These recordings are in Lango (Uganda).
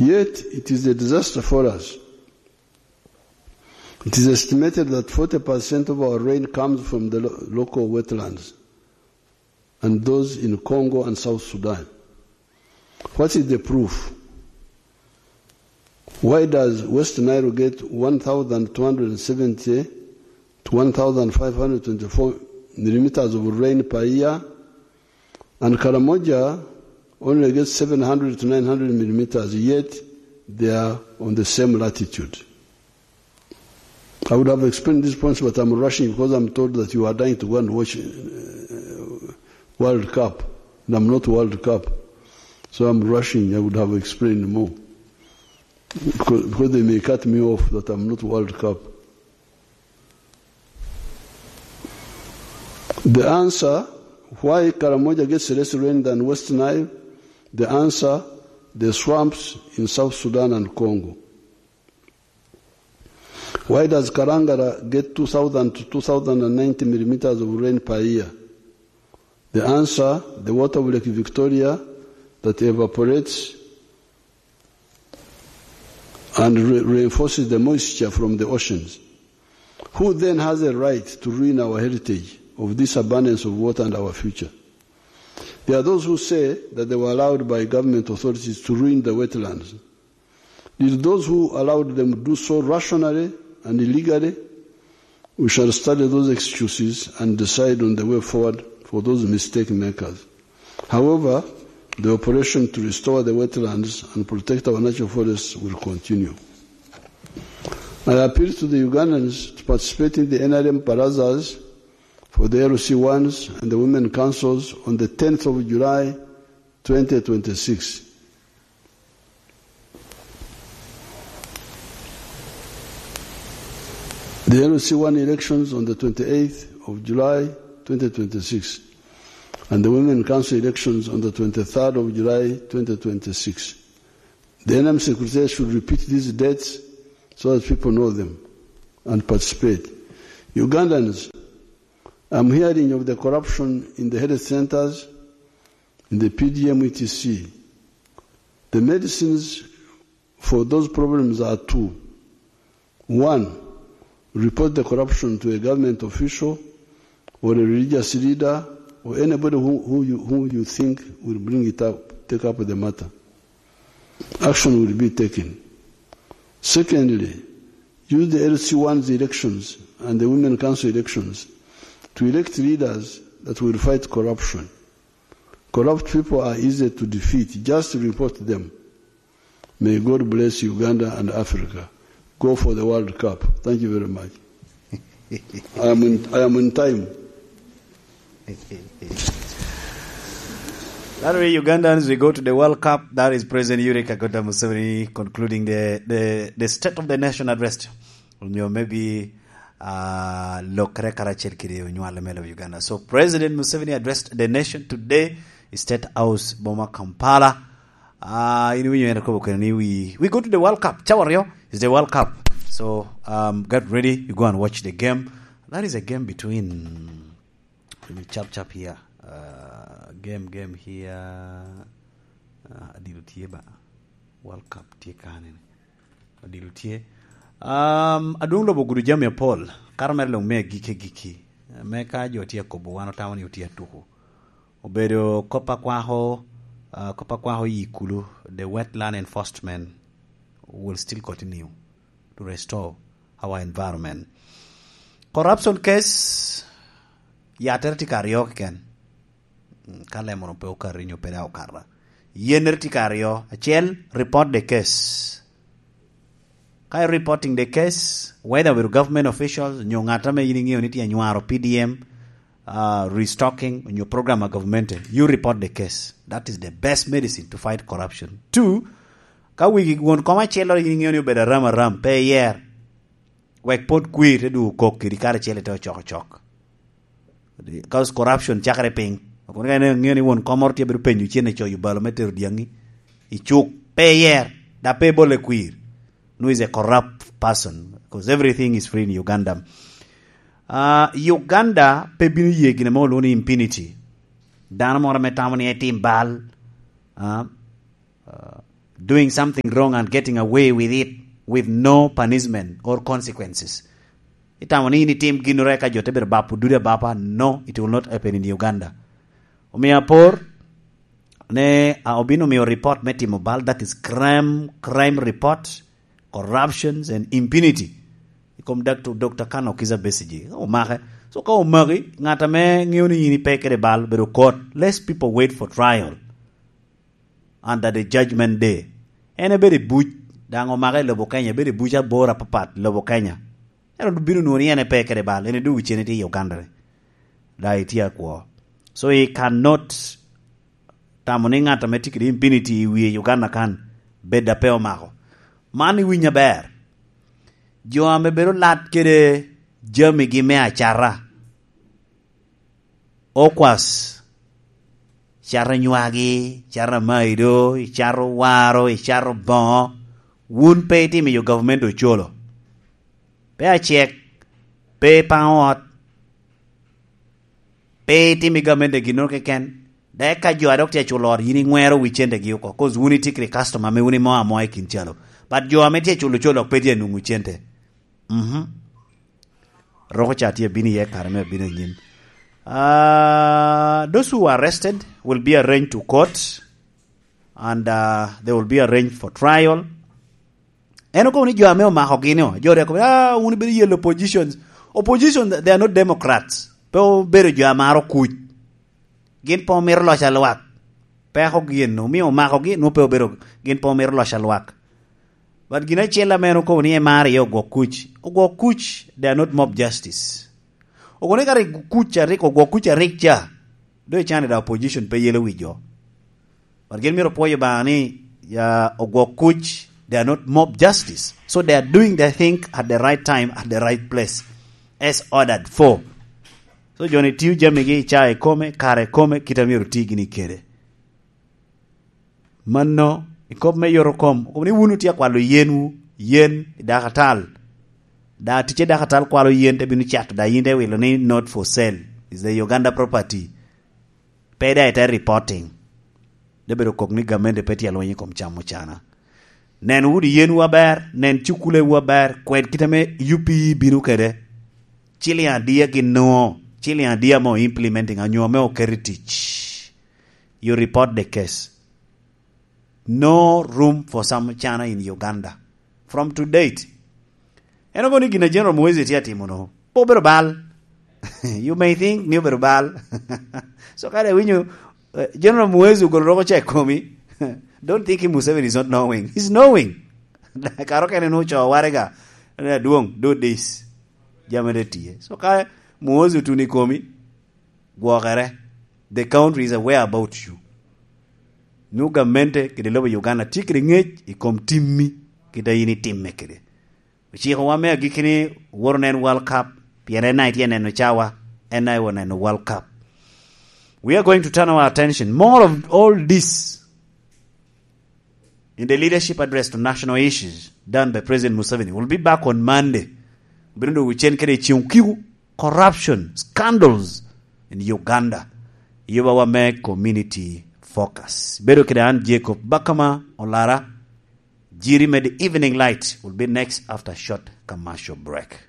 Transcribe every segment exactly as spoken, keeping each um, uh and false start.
Yet, it is a disaster for us. It is estimated that forty percent of our rain comes from the lo-, local wetlands and those in Congo and South Sudan. What is the proof? Why does West Nile get one thousand two hundred seventy to one thousand five hundred twenty-four millimeters of rain per year, and Karamoja only gets seven hundred to nine hundred millimeters, yet they are on the same latitude? I would have explained these points, but I'm rushing because I'm told that you are dying to go and watch, uh, World Cup, and I'm not World Cup. So I'm rushing. I would have explained more. Because, because they may cut me off that I'm not World Cup. The answer, why Karamoja gets less rain than West Nile? The answer, the swamps in South Sudan and Congo. Why does Karangara get two thousand to two thousand and ninety millimeters of rain per year? The answer, the water of Lake Victoria that evaporates and re-, reinforces the moisture from the oceans. Who then has a right to ruin our heritage of this abundance of water and our future? There are those who say that they were allowed by government authorities to ruin the wetlands. Did those who allowed them do so rationally and illegally? We shall study those excuses and decide on the way forward for those mistake makers. However, the operation to restore the wetlands and protect our natural forests will continue. I appeal to the Ugandans to participate in the N R M barazas for the L C ones and the women councils on the tenth of July, twenty twenty-six. The L C one elections on the twenty-eighth of July, twenty twenty-six, and the Women Council elections on the twenty-third of July, twenty twenty-six. The N M Secretary should repeat these dates so that people know them and participate. Ugandans, I'm hearing of the corruption in the health centers, in the P D M, et cetera. The medicines for those problems are two. One, report the corruption to a government official or a religious leader or anybody who, who you, who you think will bring it up, take up the matter. Action will be taken. Secondly, use the L C one's elections and the Women Council elections to elect leaders that will fight corruption. Corrupt people are easy to defeat. Just report them. May God bless Uganda and Africa. Go for the World Cup. Thank you very much. I am in, I am in time. That way, Ugandans, we go to the World Cup. That is President Yoweri Kaguta Museveni concluding the, the, the State of the Nation address. Onyo maybe uh, lokere karacel kede onywale me lobo Uganda. So President Museveni addressed the nation today, State House, boma Kampala. Uh, in winyo en akobo kene ni we, we go to the World Cup. Cawa ryo is the World Cup. So um, get ready, you go and watch the game. That is a game between, let me chap chap here. Uh, game, game here. Uh, adilo tye ba. World Cup tye kane ni. Odilo tye. Um, adwong lobo gudo jami apol. Kato mere long me agike giki. Me ka jo tye akobo, wan otamo ni otye atuku. Obedo kop akwako, uh, kop akwako yi kulu, the wetland enforcement will still continue to restore our environment. Corruption case, yatere tye ka aryo keken. Ka lemono pe okato inyo pe daŋ okata. Yennere tye ka aryo. Acel, report the case. Ka i reporting the case, whether with government officials, nyo ŋat ame in iŋeo ni tye anywaro P D M, uh, restocking, nyo program a government, you report the case. That is the best medicine to fight corruption. Two, ka wigi won kom acel in iŋeo ni obedo aram aram, pe iyer. Wek pot kwir te dwogo kok kedi kare acel ite ocok ocok. Because corruption cakere piny. Kun ka ŋeo ni won kom moro tye bedo penyo cen icoyo balo me tero dyaŋi, icuk, pe iyer, da pe ibole kwir. No is a corrupt person, because everything is free in Uganda. Uh, Uganda pe bino ye gine mo olwongo ni impunity. Dano moro ame tamo ni etim bal, uh, uh, doing something wrong and getting away with it with no punishment or consequences. Itamo ni in itim ginnoro eka jo te bedo bapo dudi abapa? No, it will not happen in Uganda. Omio apor ne, a, obino miyo report me timo bal, that is crime, crime report, corruptions and impunity. I kom Doctor Kano Kiza Besigye, omake. So ka omaki, ngat ame ŋeo ni in ipe kede bal, bedo kot. Less people wait for trial under the judgment day. En ebedo i buc, daŋ omake i lobo Kenya, ebedo i buc aboro apapat i lobo Kenya. Ento bino nwoŋo ni en epe kede bal, en edogo cene tye i Uganda ni. Da itye akwo. So he cannot tamo ni ŋat ame tye kede impunity i wie i Uganda kan, bed a pe omako. Man iwiny aber. Jo ame bedo lat kede jamigi me acata, okwas, cato nywagi, cato amaido, icato waro, icato boŋo, wun pe itimo yo gavumenti ocolo. Pe acek, pe ipaŋo ot, pe itimo i gavumenti ginnoro keken. Dok eka jo a dok tye aculo ot, yin iŋwero wi centegi oko, 'cause wun itye kede customer ame wun imo amoa i kin calo. But jo ame tye aculo ocolo dok pe tye anwoŋo cente. Mhm. Roko ca tye abino iye kare me abino anyim. Uh, those who are arrested will be arraigned to court and uh, they will be arraigned for trial. En okobo ni jo ame omakogi ni, jo reko, ah, wun ibedo yellow oppositions. Opposition, they are not Democrats. Pe obedo jo amaro kuc. Gin pe omito loc a lwak. Peko gin omio omakogi, nwo pe obedo, gin pe omito loc a lwak. But gin acel ame en okobo ni emaro iye ogwok kuc. Ogwok kuc, they are not mob justice. Ogwok ni ka rik kuc a rik, ogwok kuc a rik ca, do icane da opposition pe yelo wi jo. But gin myero opwoyo Obaŋa ni, ya, ogwok kuc, they are not mob justice. So they are doing their thing at the right time, at the right place, as ordered for. So jo-ni tio jamigi i caa ikome, kare ikome, kit a myero oti gini kede. Mano, i kop me yot okom, okobo ni wun otye akwalo yenwu, yen i dakatal. Da ticce dakatal kwalo yen te bino cato, da yin te wilo ni not for sale, is the Uganda property. Pe da ite reporting. De bedo kok ni gamente pe tye alweny i kom cam ocana. Nen wudi yenwu aber, nen cukulewu aber, kwed kit ame U P E bino kede. Ciliŋ adi a gin nwoŋo, ciliŋ adi ame o implementing, anyo ame oketo i tic. You report the case. No room for cam ocana in Uganda. From to date, en okobo ni gin a General Muhoozi tye atimo no, pe obedo bal. You may think ni obedo bal. So kare iwinyo, eh, General Muhoozi ogolo roko ca i komi, don't think Museveni is not knowing. He's knowing. Karo kene ni oco waraga, adwong, do this. Jami de tye. So ka Muhoozi otuno i komi, gwokere. The country is aware about you. Nu gamente kede lobo Uganda tye kede ŋec i kom timmi, kit a in itimme kede. Ocikowa me agikki ni wot onen World Cup, pien en na itye neno cawa, en na iwa neno World Cup. We are going to turn our attention more of all this in the leadership address to national issues done by President Museveni. We'll be back on Monday. Obino dwogo cen kede i ceŋ okiko, corruption, scandals in Uganda. Yubawa me community focus. Bedo kede an Jacob Bakama Olara. Jiri me The Evening Light will be next after short commercial break.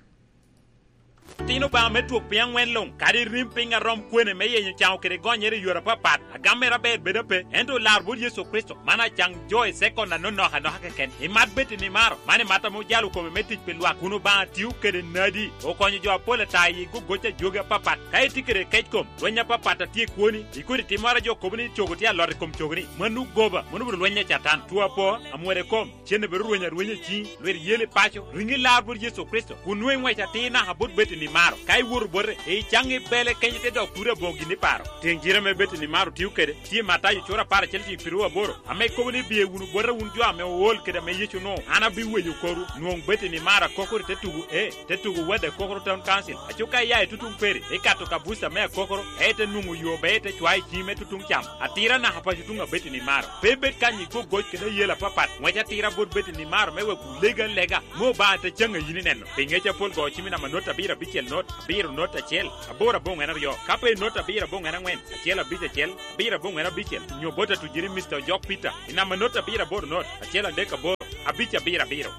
Tin Obaŋa me twok piny aŋwen luŋ, kadi rim piny a rom kwene me yenyo caŋo kede gonyere i yore apapat, agam mere aber bedo ape, ento lar bot Yecu Kricito, man acaŋ jo i sekon anonok anoka keken. Imat bed i nimaro, man imat ame ojalo kome me tic pi lwak, kun Obaŋa tio kede nadi, okonyo jo apol ata i gogoc a jogi apapat. Ka itye kede kec kom, lweny apapat a tye i kwoni, ikodi timmoro a jo kobo ni cogo tye alot i kom cogoni, mano goba, mano obedo lweny a Catan. Two apo, amwode kom, cen obedo rweny arwenya i ciŋi, lwit yel i paco, riŋi lar bot Yecu Kricito, kun nwoŋo iŋwec atir naka bot Betani maro. Ka iwoto bote, icaŋ i bele kenyo te dok turi aboŋo gin iparo. Tiŋ jire ame Betani maro tio kede, tye i Matayo cura apar acel tiŋ piru aboro, ame kobo ni, "Biye wunu bota wun jo ame ool kede ame Yecu onwoŋo, an abiweyo korwu." Nwoŋ Betani maro akokoro i te tugo, ee, te tugo Wadde Akokoro Town Council. Aco ka iya i tutuŋ Peri, ikato Kabuca me Akokoro, ite nwoŋo yo ber ite cwayo i ciŋi me tutuŋ cam. Atira naka paco tuŋ a Betani maro. Pe ibed kany i gogoc kede ayela apapat. Ŋwec atira bot Betani maro me wek olegi alega, me Obaŋa te caŋ a yin ineno. Pi ŋec apol go cimi namba not abiro abicel. acel not, abiro not acel, aboro aboŋwen aryo. Ka pe i not abiro aboŋwen aŋwen, acel abic acel, abiro aboŋwen abicel, nyo bot atujiri Mister Ojok Peter, i namba not abiro aboro not, acel adek aboro, abic abiro abiro.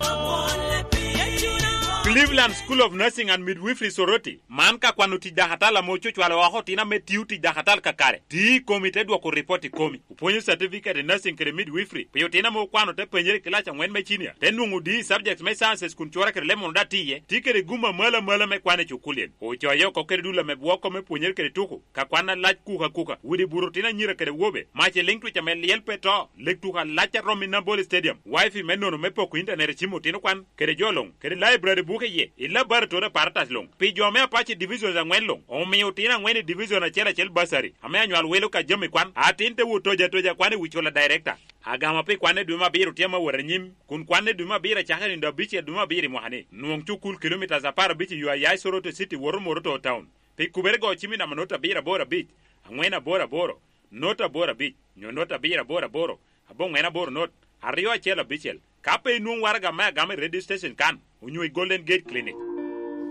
Cleveland School of Nursing and Midwifery Soroti, man ka kwano tic dakatal ame ococwalo oko otino ame tio tic dakatal kakare. Ti i komi te dwoko ripot i komi. Opwonyo certificate i nursing kede midwifery pi otino ame okwano te penyere i kilac aŋwen me cinia, te nwoŋo D E subject me sciences kun cwara kede lemon daŋ tye iye. Tye kede gum amalo amalo me kwan i cukulien. Ocoyo oko kede dul ame bwoko me pwonyere kede tuko, ka kwan alac kuka kuka, widi buto otino anyira kede wobe, mac i liŋ twic ame lyel pe to, leg tuko alac a romo i Nambole Stadium, wifi me nono me poko intanet i cim otino kwan, kede jo luŋ, kede library buke iye, i laboratory apparatus luŋ. Pi jo me Apache Divisions aŋwen luŋ, omio otino aŋwen i division acel acel bursary, ame anywal welo ka jami kwan, atin te wot toja toja kwan i wi cola director. Agama pi kwanne dwe me abiro tye ame awot anyim, kun kwanne dwe me abiro acakere nino abicel dwe me abiro i mwaka ni. Nwoŋ cukul kilomitas apar abic i yo aya i Soroti City woto Moroto Town. Pi kubere go cim i namba not abiro aboro abic, aŋwen aboro aboro, not aboro abic, nyo not abiro aboro aboro, aboŋwen aboro not, aryo acel abicel. Ka pe inwoŋ waraga me agama i radio station kan, onyo i Golden Gate Clinic.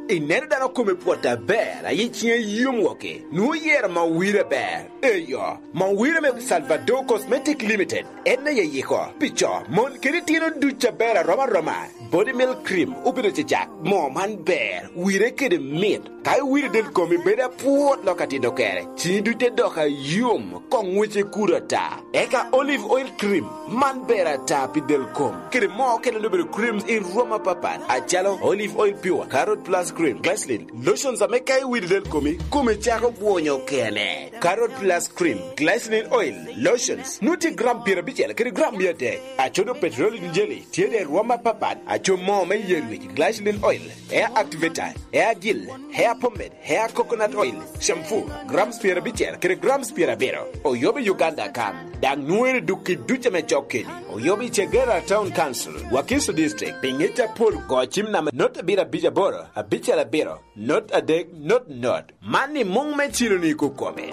Ineno dano kome pwot aber, aye ciŋe yom woko, nwoŋo yero Mawira ber. Eyo, Mawira me Salvador Cosmetic Limited, en aye yiko, pi co, mon kede tino duc aber arom aroma. Body Milk Cream obedo cecak, moo man ber, wire kede mit. Ka iwiro del komi bedo apwot lok atino kere, ciŋi duc te dok ayom, koŋ ŋwece kuto ata. Eka Olive Oil Cream, man ber ata pi del kom. Kede moo okene obedo creams i rwom apapat, acalo Olive Oil Pure, Carrot Plus Cream, Glycerin, lotions ame ka iwiro del komi, komi cako bwonyo kene. Carrot Plus Cream, Glycerin Oil, lotions, nwoŋo tye gram pyerabicel kede gram mia adek. Acodo petroleum jelly, tye de rwom apapat, aco moo me yer wic, Glycerin Oil, hair activator, hair gel, hair pomade, hair coconut oil, shampoo, grams pyerabicel kede grams pyerabiro. Oyobo i Uganda kan, daŋ nwoŋere duk i duc ame cok keni. Oyobo i Chegera Town Council, Wakiso District, pi ŋec apol go cim namba not abiro abic aboro, abicel abiro, not adek, not not. Man i muŋ me cilo ni kukome.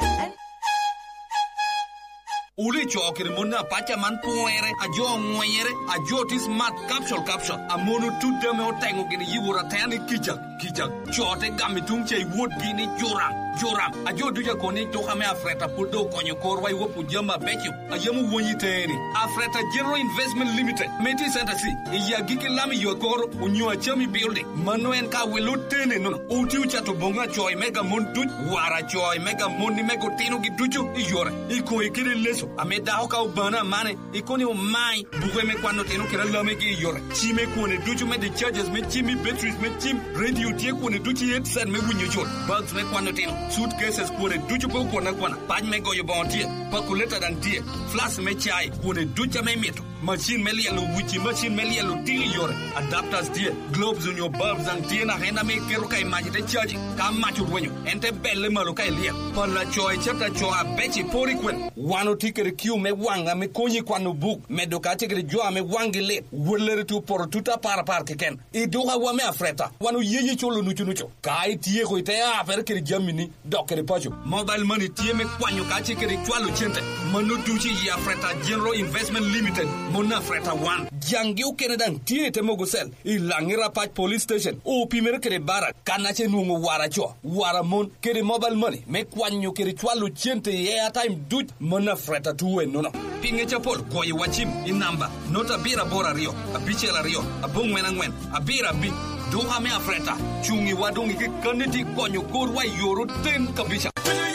Wun ico kede mon apaca man pwere, a jo oŋwenyere, a jo tye smart, capsule, capsule. A mon otut ame oteŋo gini yiwor ateni kica, kica. Co te gamo i tuŋ ca i wotgi ni juram, juram. A jo ducu akoni duka me Afreta pwod doŋ okonyo korwa i wopo jami abeco a yam owony i teŋe-ni. Afreta General Investment Limited, me tye i Center C, i agikki lam i yo akoro, onyo Acami Building. Mano en ka wilo tene nono. Oti ocato boŋo acoy mega mon duc, wara acoy mega mon ni mego otinogi ducu i yore. I koŋe kede leco, ame dako ka obano amane, i koni omai, buke me kwano tino kede alamegi i yore. Cime kwone ducu me discharges me cim i batteries me cim, radio tye kwone ducu i headset me winyo jol, bags me kwano tino, suitcases kwone ducu pe okwon akwana, pac me goyo boŋo tye, pakuleta daŋ tye, flask me cai kwone ducu ame imito. Macin me lyelo wici, macin me lyelo tino i yore, adapters tye, globes onyo bulbs daŋ tye naka en ame iketo ka i mac ite caji. Ka mac orwenyo, en te belle malo ka ilyel. Pala co icet aco abec i pori kwen. Wan otye kede kiu me waŋ ame konyi i kwano buk, medo ka tye kede jo ame waŋgi lit, wellere tye opoto tut apar apar keken. I dukawa me Afreta, wan oyenyo culo nucu nucu. Ka ityeko ite apere kede jamini, dok kede paco. Mobile money tye me kwanyo ka ce kede cwalo cente. Mano ducu i Afreta General Investment Limited, mon Afreta wan. Jangi okene daŋ tye i te mogo cell, i Laŋi Rapac Police Station, opimere kede Barak, kan ace nwoŋo wara co, wara mon, kede mobile money me kwanyo kede cwalo cente i airtime duc, mon Afreta tuwe nono. Pi ŋec apol, kwoyo wa cim i namba not abiro aboro aryo, abicel aryo, aboŋwen aŋwen, abiro abic. Duka me Afreta, cuŋ i wa doŋ i kekkanni ti konyo korwa i yor oten kabisa.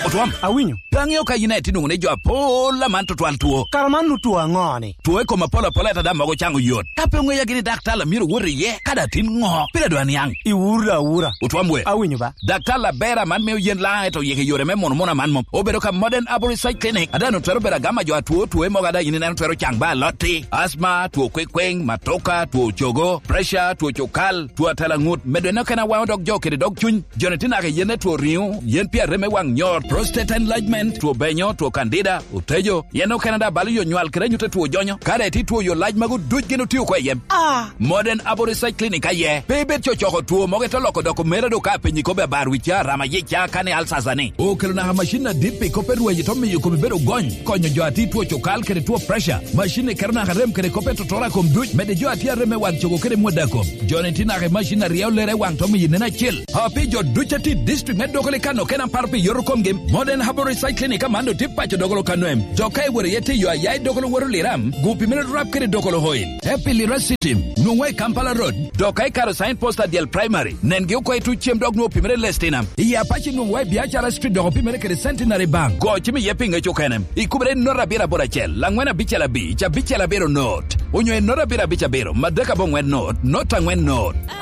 Otwam. Awinyo. Pe aŋeo ka yin aye tinoŋo ni jo apol aman tutwal two. Kara man nu two aŋo ni? Two i kom apol apol ata daŋ mogo caŋo yot. Ka pe oŋeya gini daktar a myero wot iye, ka daŋ tin ŋo? Pire dwa niaŋ. Iwura awura. Otwam we. Awinyo ba. Daktar aber aman mio yen laŋ eto yeke yore me mono mono aman mom. Obedo ka Modern Arborist Side Clinic. Ada no twero bedo agama jo atwo, two mogo ada yin ineno twero caŋ ba alotti. Asma, two kwekweng, matoka, two cogo, pressure, two cukal, two atalaŋut. Medo eno kena waŋo dog jo kede dog cuny. Joni tye naka yen etwo riŋo, yen pi arem me waŋ nyor, Prostate enlargement, two benyo, two candida, otejo, yen okene daŋ balo yo nywal kede anyut a two jonyo. Ka daŋ itye two yo lac magu duc gin otio oko i yem. Ah. Modern Herbal Research Clinic aye. Pe ibed cocoko two mogo ite loko dok omera do ka penyi kobbe abar wi ca, rama yic ca, kane alsasa ni. Okelo naka macin adit pi kop e rweny ite miyo komi bedo gony, konyo jo a tye two cukal kede two pressure. Macin ni keto naka rem kede kop e totora kom duc, medde jo a tye arem me wan cogo kede mwada kom. Jo ni tye naka i macin a ryeo lere waŋ to miyo nen acel. A pi jo duc a tye i district me Dokoli kano kena paro pi yoto komgi, Modern Herbal Research Clinic aman do tye paco Dokolo kano em. Jo ka iworo iye tiyo aya i Dokolo woto Liram, gu pi mene rap kede Dokolo Oil. Te pi Lira City, nwoŋwa i Kampala Road. Dok ka ikaro sign post a dyel primary, nengi oko i tuc cem dok nwoŋo pi mene Lestina. I Apache nwoŋwa i Biacara Street dok pi mene kede Centenary Bank. Go cim iye pi ŋec okene. Ikubere nota abiro aboro acel, angwen abicel abic, abicel abiro not. Onyo i nota abiro abic abiro, madek abongwen not, not angwen not.